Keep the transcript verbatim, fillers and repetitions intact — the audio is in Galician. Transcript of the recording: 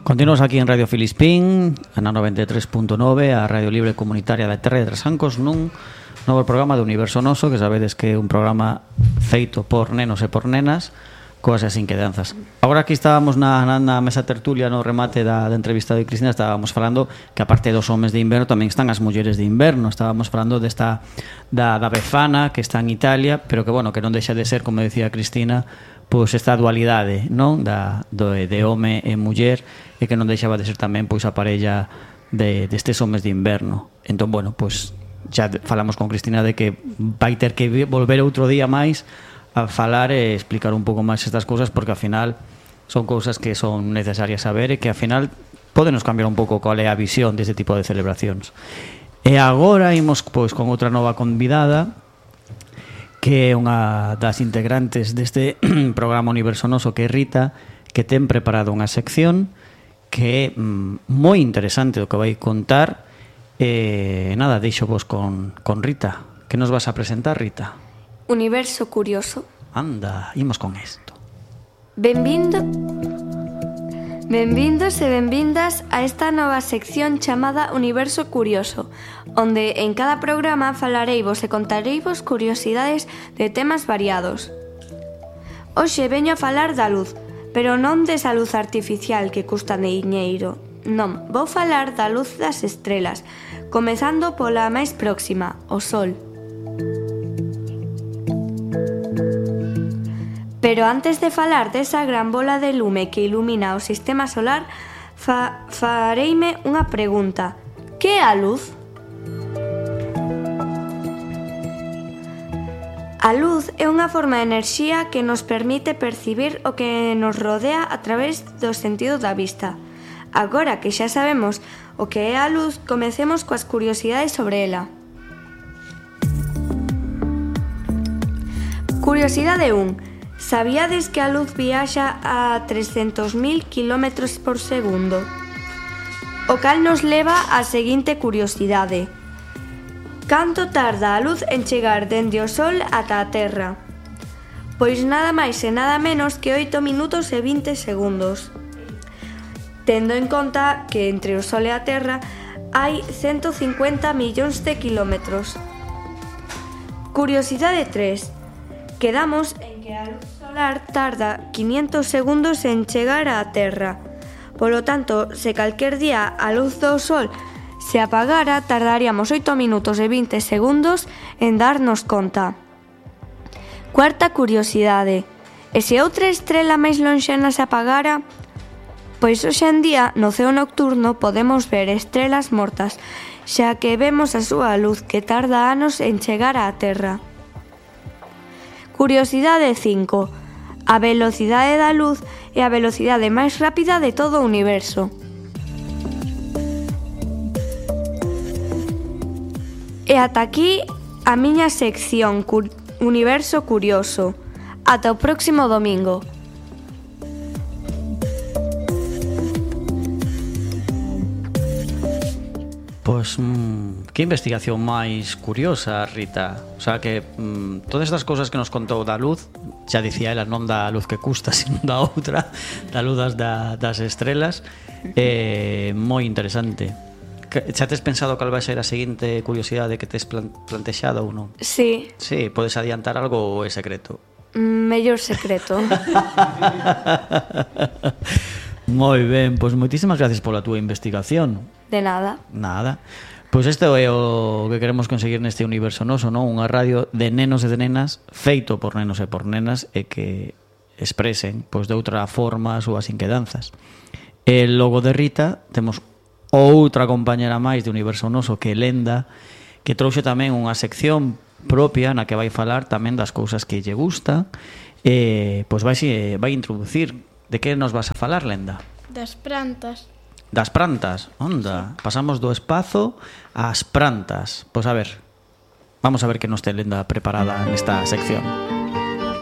Continuamos aquí en Radio Filispín, na noventa e tres punto nove, a Radio Libre Comunitaria da Terra de Trasancos, nun novo programa de Universo Noso, que sabedes que é un programa feito por nenos e por nenas, coas e inquedanzas. Agora aquí estábamos na, na, na mesa tertulia, no remate da, da entrevista de Cristina, estábamos falando que aparte dos homes de inverno tamén están as mulleres de inverno. Estábamos falando desta da, da Befana, que está en Italia, pero que, bueno, que non deixa de ser, como decía Cristina, pois esta dualidade, non, da do de home e muller, e que non deixaba de ser tamén pois a parella de destes homes de inverno. Entón, bueno, pois xa falamos con Cristina de que vai ter que volver outro día máis a falar e explicar un pouco máis estas cousas, porque ao final son cousas que son necesarias saber e que ao final podenos cambiar un pouco qual é a visión deste tipo de celebracións. E agora imos pois con outra nova convidada, que é unha das integrantes deste programa Universo Noso, que é Rita, que ten preparado unha sección que é mm, moi interesante o que vai contar. E nada, deixo vos con, con Rita. Que nos vas a presentar, Rita? Universo curioso. Anda, imos con isto. Benvindo Benvindos e benvindas a esta nova sección chamada Universo Curioso, onde en cada programa falareivos e contareivos curiosidades de temas variados. Hoxe veño a falar da luz, pero non desa luz artificial que custa diñeiro. Non, vou falar da luz das estrelas, comezando pola máis próxima, o Sol. Pero antes de falar desa gran bola de lume que ilumina o sistema solar, fa fareime unha pregunta. Que é a luz? A luz é unha forma de enerxía que nos permite percibir o que nos rodea a través do sentido da vista. Agora que xa sabemos o que é a luz, comecemos coas curiosidades sobre ela. Curiosidade un. Sabíades que a luz viaxa a trescentos mil kilómetros por segundo? O cal nos leva á seguinte curiosidade. Canto tarda a luz en chegar dende o Sol ata a Terra? Pois nada máis e nada menos que oito minutos e vinte segundos. Tendo en conta que entre o Sol e a Terra hai ciento cincuenta millóns de kilómetros. Curiosidade tres. Quedamos en que a luz solar tarda quinientos segundos en chegar á Terra. Polo tanto, se calquer día a luz do Sol se apagara, tardaríamos oito minutos e vinte segundos en darnos conta. Cuarta curiosidade. E se outra estrela máis lonxana se apagara? Pois hoxe en día, no ceo nocturno, podemos ver estrelas mortas, xa que vemos a súa luz que tarda anos en chegar á Terra. Curiosidade cinco. A velocidade da luz é a velocidade máis rápida de todo o universo. E ata aquí a miña sección Cur- Universo Curioso. Ata o próximo domingo. Pois, mmm, que investigación máis curiosa, Rita. O sea, que mmm, todas estas cousas que nos contou da luz, xa dicía ela, non da luz que custa, sino da outra, da luz das, da, das estrelas, é moi interesante. Xa tes pensado cal vai ser a seguinte curiosidade que tes plan, plantexado ou non? Sí. Sí, podes adiantar algo ou é secreto? Mellor secreto. Moi ben, pois moitísimas gracias pola túa investigación. De nada. Nada. Pois isto é o que queremos conseguir neste Universo Noso, non? Unha radio de nenos e de nenas, feito por nenos e por nenas, e que expresen, pois, de outra forma as súas inquedanzas. E logo de Rita temos outra compañera máis de Universo Noso, que é Lenda, que trouxe tamén unha sección propia na que vai falar tamén das cousas que lle gusta, e pois vai, vai introducir. De que nos vas a falar, Lenda? Das plantas. Das plantas, onda, pasamos do espazo ás plantas. Pois a ver, vamos a ver que nos ten Lenda preparada nesta sección.